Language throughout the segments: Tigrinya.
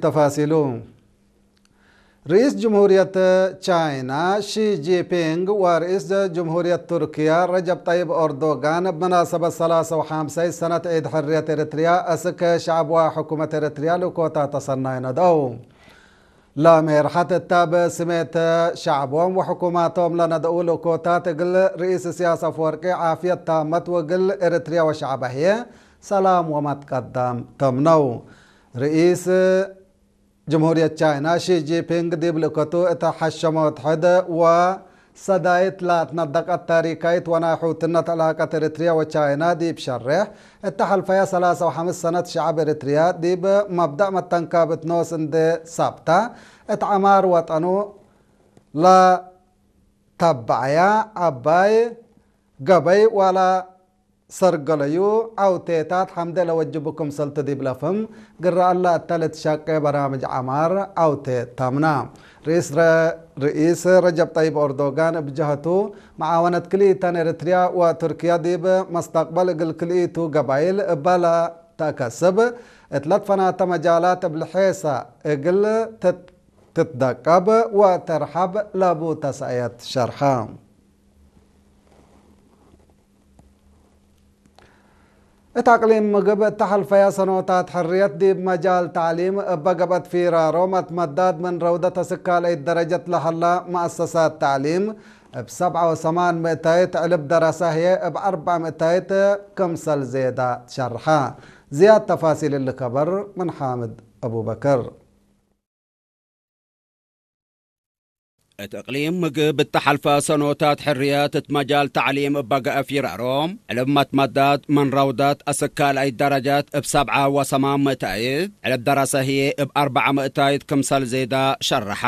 ተፋሲሉ። ርኢስ ጅምሁርየት ቻይና ሺ ጂንፒንግ ወርኢስ ጅምሁርየት ቱርክያ ረጀብ ጠይብ ኦርዶጋን ብመናሰበት ሰላሳ ወሓምሳይ ሰነት ዒድ ሕርየት ኤርትርያ እስከ ሸዕብዋ ሕኩመት ኤርትርያ ልእኮታ ተሰናይ ነደው። ለሜርሐት እታ ብስሜት ሸዕቦም ወሕኩማቶም ለነደኡ ልእኮታት እግል ርኢስ ኢሳያስ አፈወርቂ ዓፍየት ታመት ወግል ኤርትርያ ወሸዕባ ህየ ሰላም ወመትቀዳም ተምነው። ርኢስ ጅምሁርየት ቻይና ሺ ጂንፒንግ ዲብ ልእከቱ እተ ሐሸመ ወትሐደ ወሰዳይት ላትነደቀት ታሪካይት ወናይ ሑትነት ዕላቀት ኤርትርያ ወቻይና ዲብ ሸሬሕ እተ ሐልፈያ ሰላሳ ወሐምስ ሰነት ሸዐብ ኤርትርያ ዲብ መብደእ መተንካብት ኖስ እንዴ ሳብታ እት ዐማር ወጠኑ ለተበዐያ ዐባይ ገበይ ዋላ ሰርገለዩ ዐውቴታት ሐምደ ለወጅቡ ክምሰልቱ ዲብ ለፍም፣ ግረ አላ እተ ልትሸቄ በራምጅ ዐማር ዐውቴ ተምና። ርኢስ ረ-፣ ርኢስ ረጀብ ጠይብ ኦርዶጋን እብ ጀሀቱ፣ መዓወነት ክልኢተን ኤርትርያ ወቱርክያ ዲብ መስተቅበል እግል ክልኢቱ ገባይል እበ ለተአከስብ እት ለትፈናተ መጃላት እብ ልሔሳ እግል ትት-፣ ትትደቀብ ወተርሐብ ለቡ ተሰእየት ሸርሐ። እት አቅሊም ምግብ እተ ሐልፈያ ሰኖታት ሕርየት ዲብ መጃል ተዕሊም እበ ገብአት ፊራሮ መትመዳድ ምን ረውደት እስካልአይት ደረጀት ለሀላ መአሰሳት ተዕሊም እብ ሰብዐ ወሰማን ምእታይት ዕልብ ደረሰ ህዬ እብ አርበዕ ምእታይት ክምሰል ዜዳ ትሸርሐ። ዝያድ ተፋሲል እሊ ከበር ምን ሓምድ አቡበከር። እት እቅሊም ምግብ እተ ሐልፈ ሰኖታት ሕርየት እት መጃል ተዕሊም እበ ገአ ፊራሮም፣ ዕልብ መትመዳት ምን ረውደት እስካልአይት ደረጀት እብ ሰብዐ ወሰማን ምእታይት፣ ዕልብ ደረሰ ህዬ እብ አርበዕ ምእታይት ክምሰል ዜዳ ሸርሐ።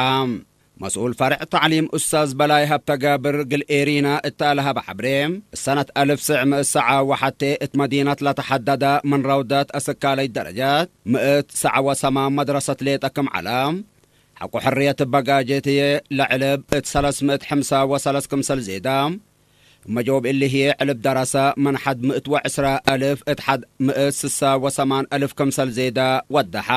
መስኡል ፈርዕ ተዕሊም ኡስታዝ በላይ ሀብተጋብር ግል ኤሪና እተ ለሀበ ሐብሬ፣ እሰነት አልፍ ስዕ ምእት ሰዓ ወሐቴ እት መዲነት ለተሐደደ ምን ረውደት እስካልአይት ደረጀት ምእት ሰዓ ወሰማን መድረሰት ሌጠ ክም ዐለ፣ ሐቆ ሕርየት እበ ጋጀት ህዬ ለዕልብ እት ሰለስ ምእት ሐምሳ ወሰለስ ክምሰል ዜዳ፣ እመ ጀውብ እሊ ህዬ ዕልብ ደረሰ ምን ሐድ ምእት ወዕስራ አልፍ እት ሐድ ምእት ስሳ ወሰማን አልፍ ክምሰል ዜዳ ወደሐ።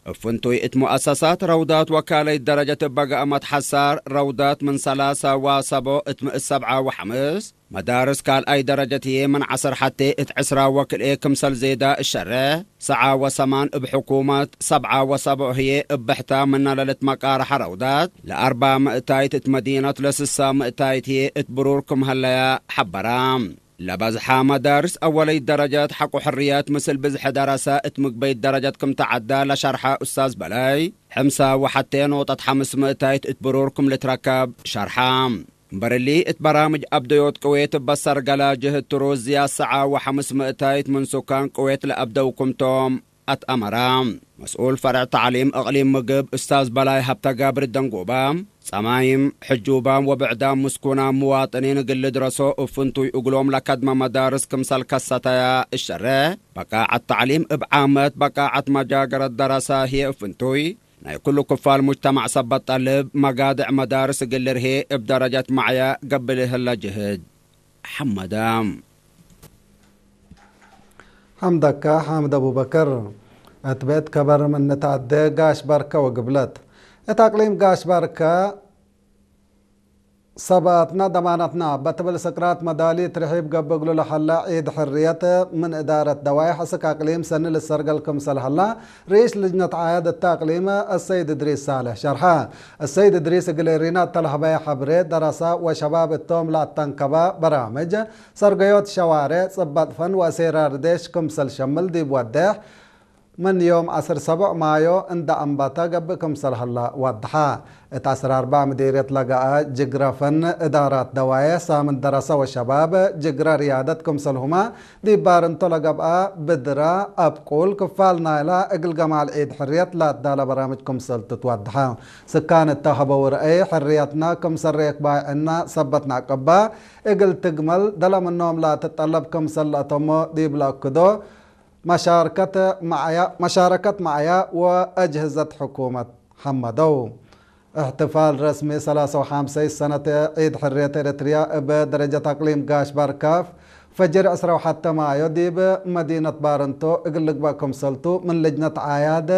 እብ ፍንቱይ እት ሙአሰሳት ረውዳት ወካለይት ደረጀት እበ ገአ መትሐሳር ረውዳት ምን ሰላሳ ወሰቦ እት ምእት ሰብዓ ወሐምስ፣ መዳርስ ካልኣይ ደረጀት ህዬ ምን ዐስር ሐቴ እት ዕስራ ወክልኤ ክምሰል ዜዳ እሸሬሕ፣ ሰዓ ወሰማን እብ ሕኩመት፣ ሰብዓ ወሰቦ ህዬ እብ ብሕታ ምነ ለልትመቃረሐ ረውዳት፣ ለአርባ ምእታይት እት መዲነት ለስሳ ምእታይት ህዬ እት ብሩር ክም ሀለያ ሐበራ። ለበዝሐ መዳርስ አወለይት ደረጀት ሐቆ ሕርየት ምስል ብዝሒ ደረሰ እት ምግበይት ደረጀት ክም ተዐዳ ለሸርሐ ኡስታዝ በላይ፣ ሕምሳ ወሐቴ ኖጠት ሐምስ ምእታይት እት ብሩር ክም ልትረከብ ሸርሐ። እምበር እሊ፣ እት በራምጅ አብደዮት ቅዌት እበ ሰርገለ ጅህት ትሩዝ ዝያድ ሰዓ ወሐምስ ምእታይት ምን ሱካን ቅዌት ለአብደው ክምቶም አትአመራ። መስኡል ፈርዕ ተዕሊም እቅሊም ምግብ ኡስታዝ በላይ ሀብተጋብር ደንጎባ፣ ጸማይም፣ ሕጁባም ወብዕዳም ምስኩናም ምዋጥኒን እግል ልድረሶ እብ ፍንቱይ እግሎም ለከድመ መዳርስ ክምሰል ከሰተያ እሸሬሕ፣ በቃዐት ተዕሊም እብ ዓመት በቃዐት መጃገረት ደረሳ ህዬ እብ ፍንቱይ ናይ ኩሉ ክፋል ሙጅተማዕ ሰበት ጠልብ መጋድዕ መዳርስ እግል ልርሄ እብ ደረጀት ማዕያ ገብእ ለህለ ጅህድ ሐመደ። ሐምደካ ሓምድ አቡበከር። እት ቤት ከበር ምን ንትአዴ ጋሽ ባርከ ወግብለት። እት አቅሊም ጋሽ ባርከ ሰብአትና ደማነትና በትብል ስቅራት መዳሊት ርሒብ ገብእ እግሉ ለሀላ ዒድ ሕርየት ምን እዳረት ደዋይሕ እስክ አቅሊም ሰኒ ልሰርገል ክምሰል ሀላ፣ ርኢስ ልጅነት ዓያድ እተ አቅሊም አሰይድ እድሪስ ሳልሕ ሸርሐ። አሰይድ እድሪስ እግል ሪና እተ ለሀበየ ሐብሬ፣ ደረሳ ወሸባብ እቶም ለአተንከበ በራምጅ፣ ሰርገዮት ሸዋሬዕ፣ ጽበጥ ፈን ወአሴራር ዴሽ ክምሰል ሸምል ዲብ ወዴሕ፣ ምን ዮም ዐስር ሰቦዕ ማዮ እንደ አንበተ ገብእ ክምሰል ሀላ ወድሐ። እት ዐስር አርበዕ ምዲርየት ለገአ ጅግረ ፈን እዳራት ደዋዬሕ ሳምን ደረሰ ወሸባብ ጅግረ ርያደት ክምሰልሁመ ዲብ ባርንቶ ለገብአ ብድረ አብቁል ክፋል ናይላ እግል ገማል ዒድ ሕርየት ለአዳለ በራምጅ ክምሰል ትትወድሐ። ስካን እተ ሀበው ረአይ ሕርየትና ክምሰል ሬክ ባይዕና ሰበት ነዕቅባ እግል ትግመል ደለ ምኖም ለትጠለብ ክምሰል ለአተሞ ዲብ ለአክዶ መሻርከት መዓያ፣ መሻረከት መዓያ ወአጅህዘት ሕኩመት ሐመደው። እሕትፋል ረስሚ ሰላሳ ወሐምሰይ ሰነት ዒድ ሕርየት ኤረትርያ እብ ደረጀት አቅሊም ጋሽ ባርካፍ ፈጅር ዕስራ ወሐተ ማዮ ዲብ መዲነት ባረንቶ እግል ልግበእ ክምሰልቱ ምን ልጅነት ዓያድ